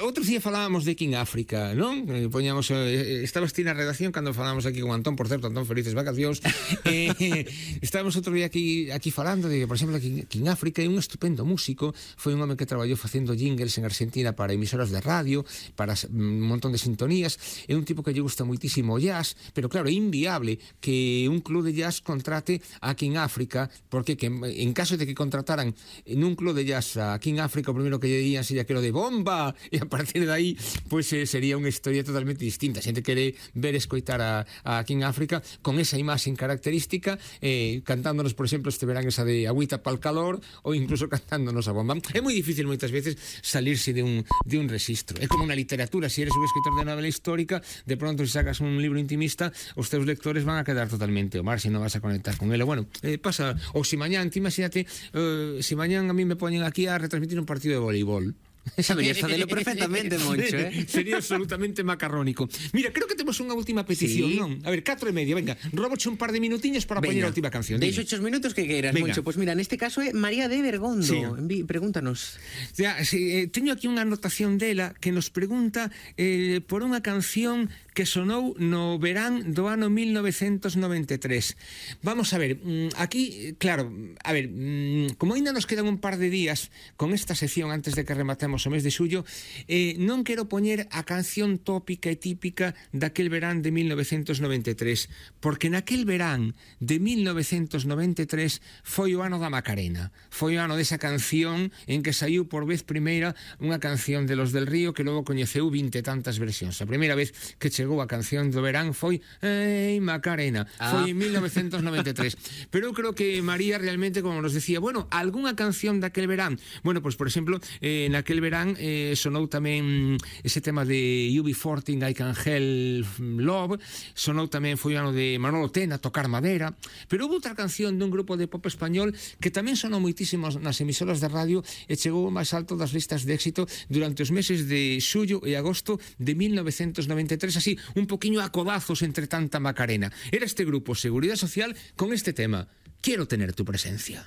outro día falábamos de King África, non? Poñamos, estabas ti na redacción cando falábamos aquí con Antón, por certo, Antón, felices vacacións. Estábamos outro día aquí falando de, por exemplo, King África é un estupendo músico, foi un home que traballou facendo jingles en Argentina para emisoras de radio, para un montón de sintonías, é un tipo que lle gusta moitísimo o jazz, pero claro, é inviable que un club de jazz contrate a King África, porque que en caso de que contrataran nun club de jazz a King África, o primeiro que lle dirían sería que lo de bomba, e a partir de aí pues, sería unha historia totalmente distinta. A xente quere ver escoitar a King África con esa imaxe característica, cantándonos, por exemplo, este verán esa de agüita pa'l calor, ou incluso cantándonos a bomba. É moi difícil moitas veces salirse de un registro. É como na literatura, se eres un escritor de novela histórica, de pronto se sacas un libro intimista, os teus lectores van a quedar totalmente ao mar se non vas a conectar con ele. Bueno, pasa, ou se mañán, imagínate, se mañán a mí me poñen aquí a retransmitir un partido de voleibol. Saberías facelo perfectamente, Moncho, Sería absolutamente macarrónico. Mira, creo que temos unha última petición, sí. Non? A ver, 4:30, venga, róboche un par de minutiños para poñer a última canción. Deixo 8 minutos que queiras, Moncho. Pois mira, neste caso é María de Bergondo. Sí. Pregúntanos. Teño aquí unha anotación dela que nos pregunta por unha canción que sonou no verán do ano 1993. Vamos a ver, aquí, claro, a ver, como ainda nos quedan un par de días con esta sección antes de que rematemos o mes de xullo, non quero poñer a canción tópica e típica daquel verán de 1993, porque naquel verán de 1993 foi o ano da Macarena, foi o ano desa canción en que saiu por vez primeira unha canción de Los del Río que logo coñeceu 20 e tantas versións. A primeira vez que chegou a canción do verán foi Ei Macarena, foi en 1993. Pero eu creo que María realmente, como nos decía, bueno, algunha canción daquel verán, bueno, pues por exemplo, naquel verán sonou tamén ese tema de UB40, I Can Help Love, sonou tamén, foi o ano de Manolo Tena, Tocar Madera, pero houve outra canción dun grupo de pop español que tamén sonou moitísimo nas emisoras de radio e chegou ao máis alto das listas de éxito durante os meses de xullo e agosto de 1993, así, un poquinho a codazos entre tanta Macarena. Era este grupo Seguridade Social con este tema, Quiero tener tu presencia.